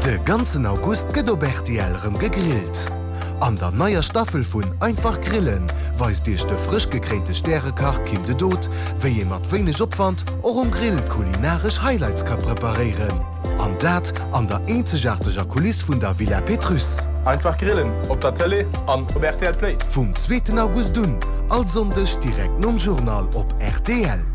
De ganzen August gëtt op rtl rëm gegrillt. An der neier Staffel vun Einfach Grillen weist iech de frësch gekréinte Stärekach Kim de Dood, wéi ee mat wéineg Opwand och um Grill kulinaresch Highlights ka preparéieren. An dat an der eenzegaarteger Kuliss vun der Villa Pétrusse. Einfach Grillen op der Tëlee an op rtl Play. Vum zweeten August un, all Sonndeg direkt nom Journal op rtl.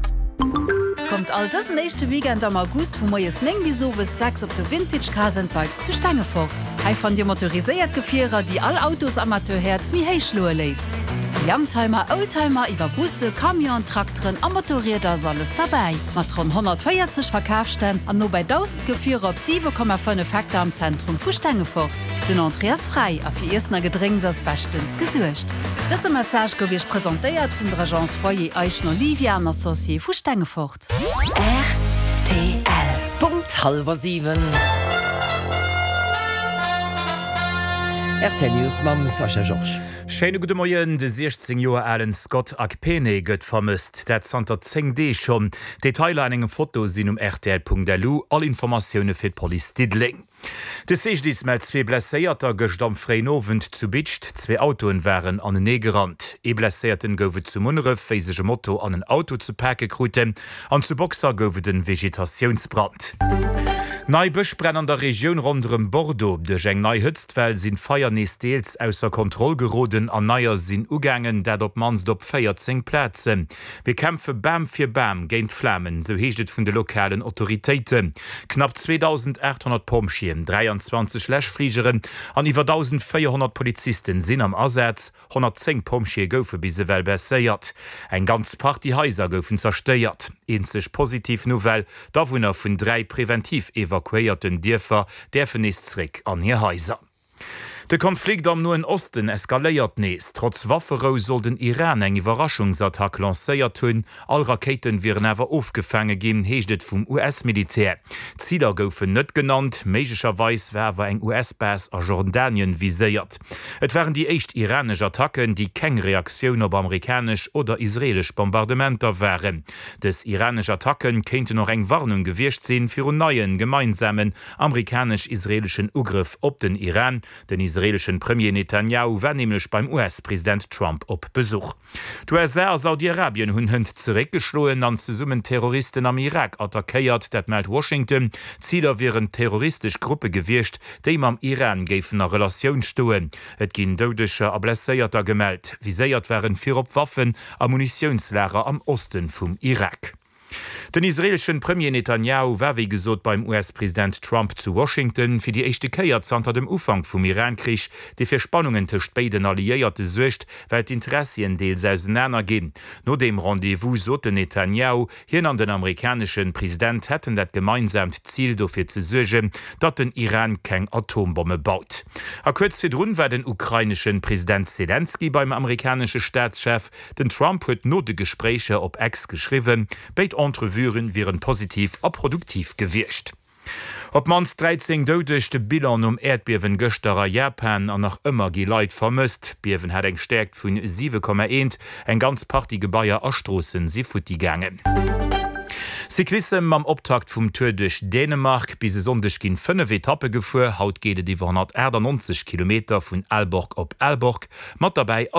Kommt all dësen éischte Weekend am August vu moies 9 bis owes 6 op de Vintage Cars and Bikes zu Stengefort. Hei fannt Dir motoriséiert Gefierer, déi all Autosamateur-Häerz méi héich schloe léisst. Vu Youngtimer, Oldtimer iwwer Busse, Camionen, Trakteren a Motorrieder ass alles derbäi. Mat ronn 140 Verkafsstänn an nobäi 1.000 Gefierer op 7,5 Hektar am Zentrum vu Stengefort. Den Entrée ass fräi a fir Iessen a Gedrénks ass beschtens gesuergt. Dëse Message gouf Iech presentéiert vun der Agence Foyer Eischen Olivia an Associés vu Stengefort. Rtl. Punkt hallwer 7. Rtl News mam Sascha Georges. Schéine gudde Moien. De 16 Joer alen Scott Akpene gëtt vermësst. Dat zanter 10 Deeg schonn. Detailer an engem Foto sinn um rtl.lu. All Informatioune fir d'Police Diddeleng. De CGDIS mellt zwee Blesséierter gëscht am fréien Owend zu Bidscht. Zwee Autoen waren anenee gerannt. Ee Blesséierten gouf et zu Munneref, wéi sech e Moto an en Auto ze pake kruten. An zu Boxer gouf et en Vegetatiounsbrand. Nei Bëschbränn an der Regioun ronderëm Bordeaux. Duerch eng nei Hëtztwell sinn d'Feier nees deels ausser Kontroll geroden an neier sinn ugaangen, dat op d'mannst op 14 Plazen. Mir kämpfe Bam fir Bam géint d'Flamen, sou heescht et vun de lokalen Autoritéiten. Knapp 2.800 Pompjeeën, 23 Läschfligeren an iwwer 1.400 Polizisten sinn am Asaz. 110 Pompjeeë goufe bis ewell blesséiert. Eng ganz Partie Haiser goufen zerstéiert. Eenzeg positiv Nouvelle, D'Awunner vun 3 preventiv evakuéierten Dierfer däerfen nees zeréck an hir Haiser. De Konflikt am Noen Osten eskaléiert nees. Trotz Wafferou soll den Iran eng Iwwerraschungsattack lancéiert hunn. All Rakéiten wieren awer ofgefaange ginn, heescht et vum US-Militär. Ziler goufen net genannt, méiglecherweis war awer eng US-Base a Jordanien viséiert. Et waren déi éischt iranesch Attacken, déi keng Reaktioun op amerikanesch oder israeelesch Bombardementer waren. Dës iranesch Attacken kéinten och eng Warnung gewiescht sinn virun neien, gemeinsamen amerikanesch-israeeleschen Ugrëff op den Iran. Den israeeleschen Premier Netanjahu war nämlech beim US-President Trump op Besuch. D'USA a Saudi-Arabien hunn hënt zeréckgeschloen an zesummen Terroristen am Irak attackéiert, dat mellt Washington. Ziler wieren terroristesch Gruppe gewiescht, déi mam Iran géifen a Relatioun stoen. Et ginn Doudeger a Blesséierter gemellt. Viséiert waren virop Waffen a Munitiounslager am Oste vum Irak. Den israeeleschen Premier Netanjahu war wéi gesot beim US-President Trump zu Washington, fir déi éischte Kéier zanter dem Ufank vum Iran-Krich, dee fir Spannungen tëscht béiden Alliéierte suergt, well d'Interessien deels ausenaner ginn. No deem Rendez-vous sot den Netanjahu, hien an den amerikaneschen President hätten dat gemeinsaamt Zil, dofir ze suergen, datt den Iran keng Atombomme baut. A kuerz virdrun war den ukraineschen President Selenskyj beim amerikanesche Staatschef. Den Trump huet no de Gespréicher op X geschriwwen, béid Entrevuen wieren positiv a produktiv gewiescht. Op d'mannst 13 Doudeg, de Bilan nom Äerdbiewen gëschter a Japan an nach ëmmer gi Leit vermësst. D'Biewen hat eng Stäerkt vun 7,1, eng ganz Partie Gebaier a Stroossen si futti gaangen. Cyclissem mam Optakt vum Tour duerch Dänemark. Bis e Sonndeg ginn 5 Etappe gefuer. Haut geet et iwwer 198 Kilometer vun Aalborg op Aalborg. Mat derbäi ass.